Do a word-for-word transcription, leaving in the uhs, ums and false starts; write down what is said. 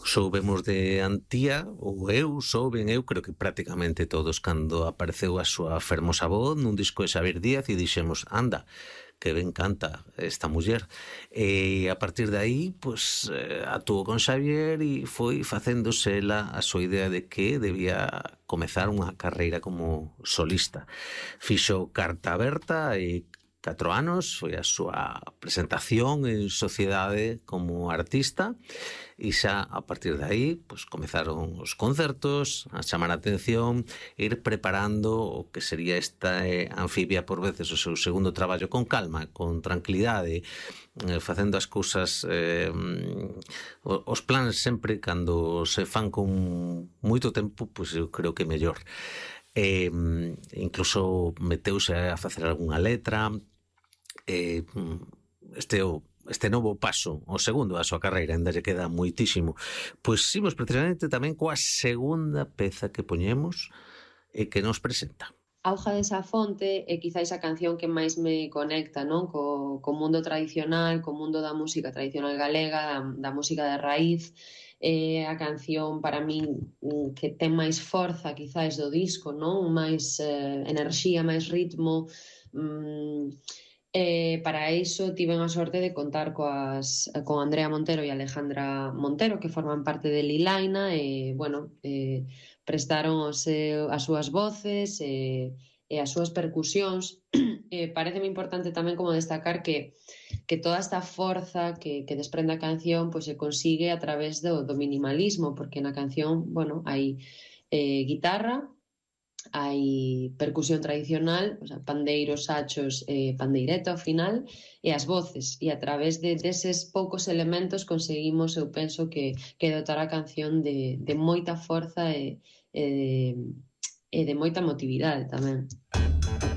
soubemos de Antía, ou eu, souben eu, creo que prácticamente todos, cando apareceu a súa fermosa voz nun disco de Xavier Díaz e dixemos, anda, que ben canta esta muller. E a partir de aí, pues, eh, actuou con Xavier e foi facéndose ela a súa idea de que debía comezar unha carreira como solista. Fixo Carta Aberta e catro anos, foi a súa presentación en sociedade como artista e xa a partir de aí pues, comezaron os concertos a chamar a atención, ir preparando o que sería esta eh, anfibia por veces o seu segundo traballo con calma, con tranquilidade, eh, facendo as cousas eh, os plans sempre cando se fan con moito tempo, pois pues, eu creo que mellor. Eh, incluso meteuse a facer algunha letra. Eh, este o este novo paso, o segundo da súa carreira, ainda lle queda moitísimo. Pois imos precisamente tamén coa segunda peza que poñemos e que nos presenta. Auga desa fonte é quizáis a canción que máis me conecta, non? Co, co mundo tradicional, co mundo da música tradicional galega, da, da música de raíz. É a canción para min que ten máis forza quizáis do disco, non? Máis eh, enerxía, máis ritmo. Mm, Eh, para iso tiven a sorte de contar coas, con Andrea Montero e Alejandra Montero, que forman parte de Lilaina, e, bueno, eh, prestaron os, eh, as súas voces e, e as súas percusións. Eh, pareceme importante tamén como destacar que, que toda esta forza que, que desprende a canción pois, se consigue a través do, do minimalismo, porque na canción, bueno, hai eh, guitarra, hai percusión tradicional, o sea, pandeiros, sachos e eh, pandeireta ao final, e as voces, e a través de deses poucos elementos conseguimos, eu penso que, que dotar a canción de, de moita forza e, e, de, e de moita emotividade tamén.